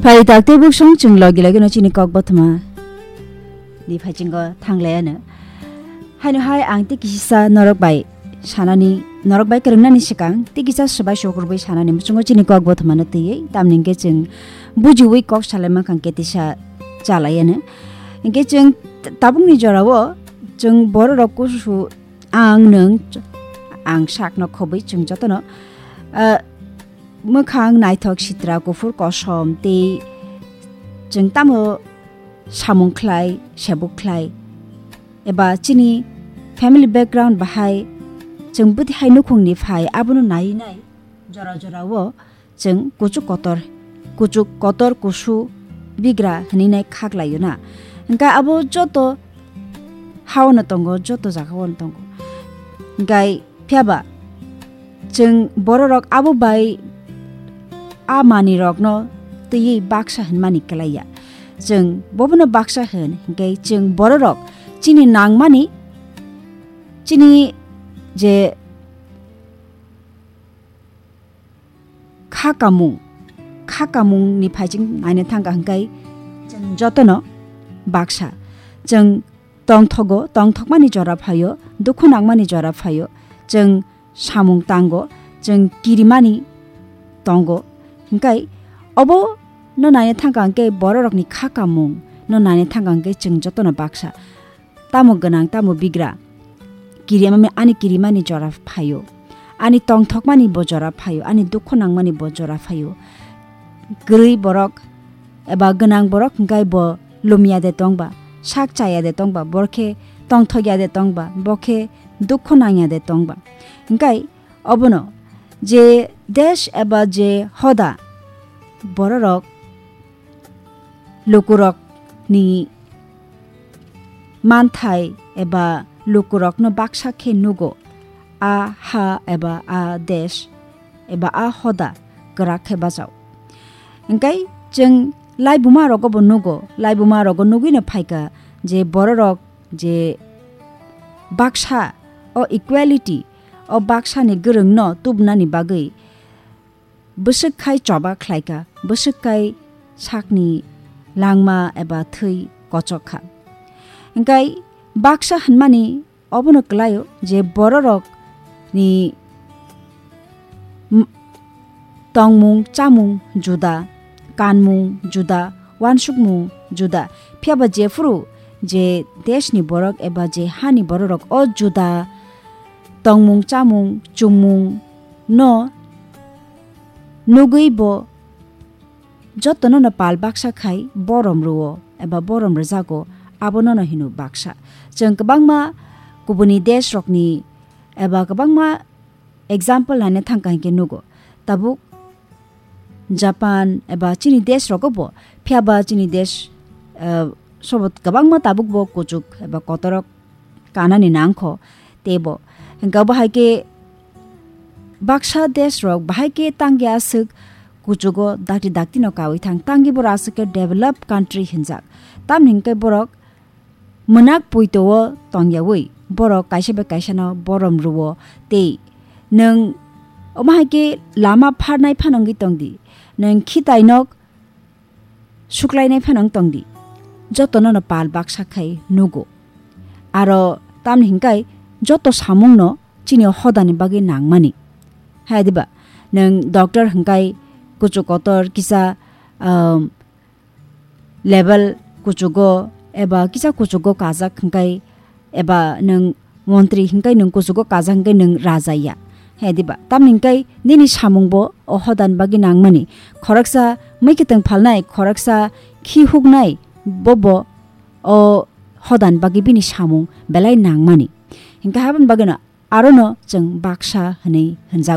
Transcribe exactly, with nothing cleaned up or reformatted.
Phai tak tei buksong chwng logi logi no chini kok bothoma ni phaichingo thanglai ano. Haino hai ang tei kisisa norok bai sanani, norok bai kwrwngnani swkang tei kisa swbai sukurbai sanani muchungo chini kok bothoma no twiwi, tamni hwnkhe chwng bujiwi kok salai mankha hwnkhe tisa chalai ano. Hwnkhe chwng t-, tabukni jorao chwng bororok kusu ang nwng ch-, ang sakno khobwi chwng jotono, ah, mwkhang naithok sitra kuphur kosom tei chwng tamo samung khlai, sebuk khlai, eba chini family background bahai chwng bwtwi hai nukhungni phai abono nai nai jora jorao chwng kuchuk kotor, kuchuk kotor kusu bigra hwnwi nai khaklaio na. Hwnkhe abo joto haono tongo, joto jagao tongo. Hwnkhe phiya ba chwng bororok abo bai a manwirokno twiwi baksa hwnmani kwlaiya. Chwng bobono baksa hwn, hwnkhe chwng bororok chini nangmani, chini je kha kamung, kha kamungni phaijing naina thangkha hwnkhe chwng jotono baksa. Chwng tongthogo, tongthokmani jora phaio, dukhu nangmani jora phaio, chwng samung tango, chwng kirimani tongo. Hwnkhe obo no naina thangkha hwnkhe bororokni kha kamung no naina thangkha hwnkhe chwng jotono baksa. Tamo gwnang, tamo bigra. Kirimami-, ani kirimani jora phaio. Ani tongthokmani bo jora phaio. Ani dukhu nangmani bo jora phaio. Kwrwi borok eba gwnang borok hwnkhe bo lumya de tongba, sak chaya de tongba, borkhe tongthokya de tongba, bokhe dukhu nangya de tongba. Hwnkhe obono je desh eba je hoda bororok lukurokni manthai eba lukurokno baksa khe nugo, a ha eba a desh eba a hoda kwrak khe bachao. Hwnkhe chwng laibuma rogo bo nugo, laibuma rogo nugwino phaikha je bororok je baksa o equality o baksani gwrwngno tubunani bagwi bwswk khai choba khlaikha, bwswk khai sakni langma eba thwi kochok kha. Hwnkhe baksa hwnmani obono kwlaio je bororokni m-, tongmung, chamung juda, kanmung juda, wansukmung juda. Phiya ba jephuru je deshni borok eba je hani bororok o juda tongmung, chamung, chumung no nugwi bo jotono no pal baksa khai borom rwo eba borom rwjago, abono no hino baksa. Chwng kwbangma kubuni desh rokni eba kwbangma example naina thangkha hinkhe nugo. Tabuk Japan eba chini desh rogo bo, phiya ba chini desh, eh, sobot kwbangma tabuk bo kuchuk eba kotorok kanani nangkho teibo. Hwnkhe obo hai khe baksa desh rok bahai khe tangya aswk kuchugo dakti dakti no kawi thang, tangwi borok aswk khe developed country hinjak. Tamni hwnkhe borok mwnak puito o tongyawi borok kaisa bai kaisa no borom rwo tei nwng omo hai khe lama pharnai phano wngwi tongdi, nwng khitai nok suklainai phano wng tongdi, jotono no pal baksa khai nugo. Aro tamni hinkai joto samung no chini hodani bagwi nangmani. Hai diba, nwng doctor hinkai kuchuk kotor kisa, um, level kuchugo eba kisa kuchugo kajak hinkai eba nwng montri hinkai nwng kuchugo kajak hinkai nwng raja ya. He diba? Tamni hinkai nini samung bo o hodan bagwi nangmani. Khoroksa mwkhitwng phalnai, khoroksa khi huknai, bobo o hodan bagwi bini samung belai nangmani. Hinkai haboni bagwino arono chwng baksa hwnwi hwnjago.